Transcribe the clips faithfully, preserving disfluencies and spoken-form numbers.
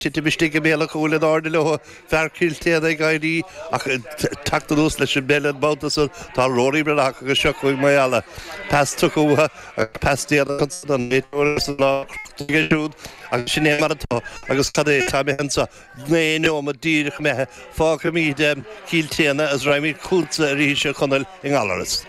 Titim istigh i mbéal an chúil in airde leo, fear Chill Téana ag éirí ach teacht anuas leis an bpeil an babhta san. Tá Rory Breathnach agus seo chugainn Maigh Eala. Pas tugtha uathu agus pas déanach ansan an réiteoir san lá crochta aige siúd agus sin é mar atá agus cad é tá imithe anso naoi neomat díreach imithe. Fágfaimid Cill Téana agus raghaimid chugatsa arís a Chonaill i nGallaras.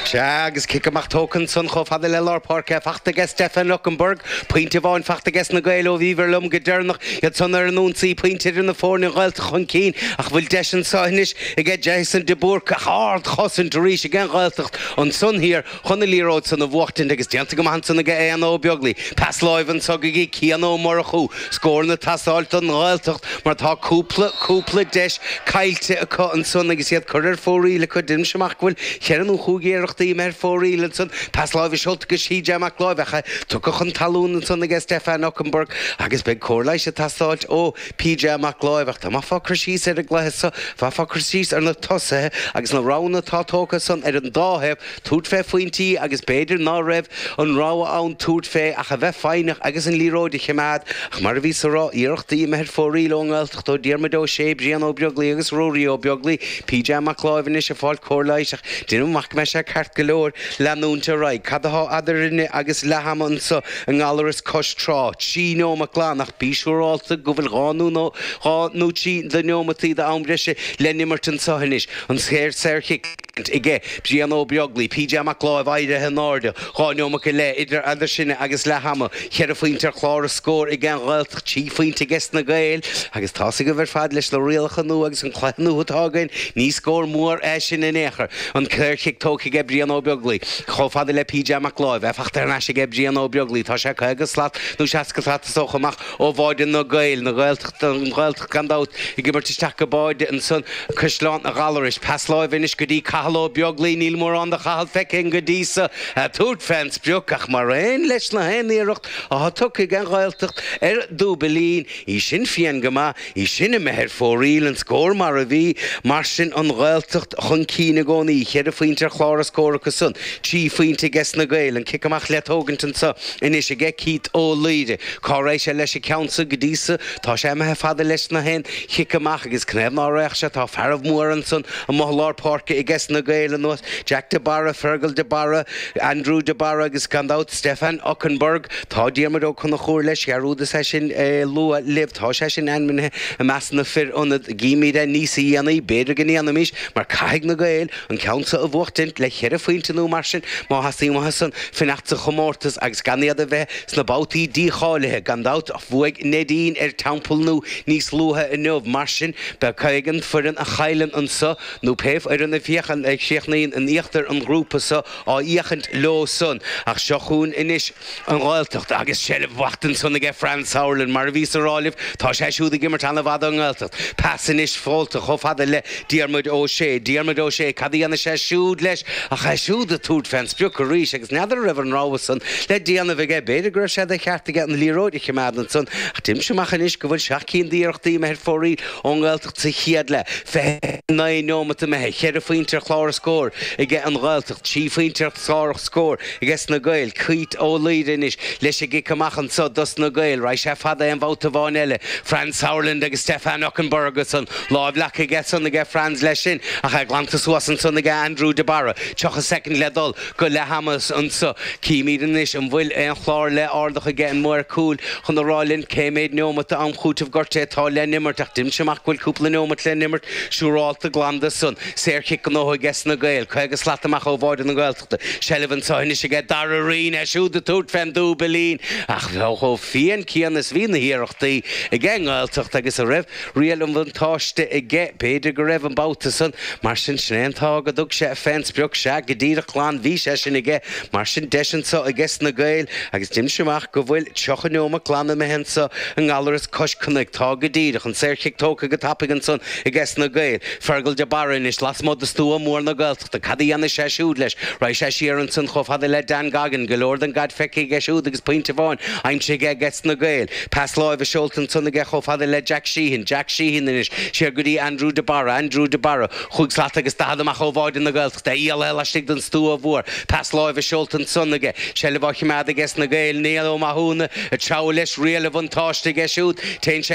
Sea, agus cic amach tógtha ansan chomh fada le lár páirce fachta aige Stefan Okunbor, pointe amháin fachta aige na Gaeil ó bhíobhair liom go deireanach, iad san ar an ionsaí, pointe idir na foirne, an Ghaeltacht chun cinn, ach bhfuil deis anso anois aige Jason de Búrca, ach ardchosaint arís ag an Ghaeltacht ansan thiar chun an liathróid san a bhuachtaint agus déanta go maith ansan aige Éanna Ó Beaglaoi. Pas láimhe anso go dtí Cian Ó Murchú, scóranna ag teastáilt don Ghaeltacht mar tá cúpla, cúpla deis caillte acu ansan agus iad curtha ar fóraoil acu. Deinimse amach go bhfuil cheithre nó chúig iarrachtaí imithe ar fóraoil ansan. Pas láimhe seolta go C J Mac Láimh ach tugtha chun talún ansan aige Stefan Okunbor agus beidh cóir leighis ag teastáilt ó P J Mac Láimh. Ach tá bheifeá ag cur síos ar an gcluiche seo, bheifeá ag cur síos ar na tosaithe agus na roghanna atá tógtha san ar an dá thaobh, tabhairt fé phointí agus b'fhéidir ná raibh an rogha ann tabhairt fé ach a bheith foighneach agus an liathróid a choimeád. Ach mar a bhíos a rá, iarrachtaí imithe ar fóraoil ón nGaeltacht ó Diarmuid Ó Sé, Brian Ó Beaglaoi agus Ruairí Ó Beaglaoi. P J Mac Láimh anois ag fáil cóir leighis ach deinim amach go mbeidh sé ceart go leor leanúint ar aghaidh. Cad atá eadrainne agus leath ama anso i nGallaras cois trá? Trí neomat glan ach bí siúrálta go bhfuil dhá nó dhá nó trí de neomataí d'am breise le n-imirt anso anois. An saor saorchic aige Brian Ó Beaglaoi, P J Mac Láimh éirithe in airde, dhá neomat go leith idir eadar sinne agus leath ama, ceithre phointe ar chlár an scóir ag an Ghaeltacht, trí phointe aige na Gaeil agus tá a fhios agaibh ar fad leis na rialacha nua agus an cluiche nua atá againn, ní scór mór é sin in aon chor. An saorchic tógtha aige Brian Ó Beaglaoi chomh fada le P J Mac Láimh, é fachta thar n-ais aige Brian Ó Beaglaoi, tá sé caoga slat nó seasca slat is dócha amach ó bháide na Gaeil, na Gaeltacht, an Ghaeltacht gan dabht ag imirt isteach go báide ansan Caisleán Ghallarais. Pas láimhe anois go dtí Cathal Ó Beaglaoi, níl mórán de Chathal feicthe go dtí seo tabhairt fén sprioc ach mar aon leis na haon iarracht atá tugtha ag an Ghaeltacht ar dúbailín, í sin fiáin go maith, í sin imithe ar fóraoil, an scór mar a bhí, mar sin an Ghaeltacht chun cinn i gcónaí, ceithre phointe ar chlár an scóir acu san, trí phointe aige na Gaeil, an cic amach le tógaint anso anois aige Keith Ó Laoire. Cá raghaidh sé leis an ceann so? Go dtí seo tá sé imithe fada leis na haon chic amach agus cnéad ná réach sé tá fearaibh mór ansan amuigh i lár páirce aige na Gaeil anuas Jack de Barra, Fergal de Barra, Andrew de Barra agus gan dabht Stefan Okunbor. Tá Diarmuid Ó Conchúir leis dhearúdas é sin eh, lua libh, tá sé sin ainmnithe i measc na fir ionaid. Gímid é níos dhéanaí, b'fhéidir go ndéanfaimis mar caithfidh na Gaeil an ceann seo a bhuachtaint le ceithre phointe nó mar sin má theastaíonn uathu san fanacht sa chomórtas agus gan iad a bheith sna babhtaí dícháilithe. Gan dabht bhuaigh Neidín ar Templenu níos luaithe inniu, mar sin beidh an foireann a chailleann anso nó pé foireann a fhéachann ag críochnaíonn in íochtar an ghrúpa seo á fhéachaint leo san. Ach seo chugainn anois an Ghaeltacht agus seilbh fachta ansan aige Franz Sauerland. Mar a bhíos a rá libh, tá sé siúd ag imirt an-mhaith don nGaeltacht. Pas anois faighte chomh fada le Diarmuid Ó Sé. Diarmuid Ó Sé, cad a dhéanfaidh sé siúd leis? Ach é siúd ag tabhairt fén sprioc arís agus n'fheadar raibh an rogha san le déanamh aige. B'fhéidir go raibh sé de cheart aige an liathróid a choimeád ansan ach deinimse amach anois go bhfuil seacht cinn d'iarrachtaí imithe ar fóraoil ón nGaeltacht sa chéad leath. Fiche naoi neomat imithe, ceithre phointe ar chlár an scóir aige an Ghaeltacht, trí phointe ar chlár an scóir aige na Gaeil. Keith Ó Laoire anois leis an gcic amach anso dos na Gaeil, raghaidh sé fada aon bhabhta amháin eile. Franz Sauerland agus Stefan Okunbor san lámh leagtha aige san aige Franz leis sin ach é glanta suas ansan aige Andrew de Barra. Tríocha soicind le dul go leath ama anso. Címid anois an bhfuil aon chlár le ardach aige an maor cúil chun a rá linn cé mhéad neomat am chúitimh gortaithe atá le n-imirt ach deinimse amach go bhfuil cúpla neomat le n-imirt siúrálta glan de san. Saorchic gnóthaithe aige na Gaeil, caoga slat amach ó bháide na Gaeltachta. Seilbh anso anois aige Dara Rín, é siúd ag tabhairt fén dúbailín ach chomh fiáin céanna is bhí na hiarrachtaí aige an nGaeltacht agus a raibh riail an bhuntáiste aige, b'fhéidir go raibh an babhta san, mar sin sin é an t-ádh go dtug sé fén sprioc. Sea go díreach glan bhí sé sin aige, mar sin deis anso aige na Gaeil agus deinimse amach go bhfuil tríocha neomat glan imithe anso i nGallaras cois cnoic. Tá go díreach. An saorchic tógtha go tapaidh ansan aige na Gaeil. Fergal de Barra anois lasmuigh de stua mór na Gaeltachta. Cad a dhéanfaidh sé siúd leis? Raghaidh sé siar ansan chomh fada le Dan Goggin, go leor den gcaid feicthe aige siúd agus pointe amháin aimsithe aige na Gaeil. Pas láimhe seolta ansan aige chomh fada le Jack Sheehan. Jack Sheehan anois siar go dtí Andrew de Barra. Andrew de Barra cúig slat agus daichead amach ó bháide na Gaeltachta. Íala Scála laistigh den stua mhór. Pas láimhe seolta ansan aige. Seilbh á choimeád aige na Gaeil Niall Ó Mathúna ag treabhadh leis riail an bhuntáiste aige siúd. Téann sé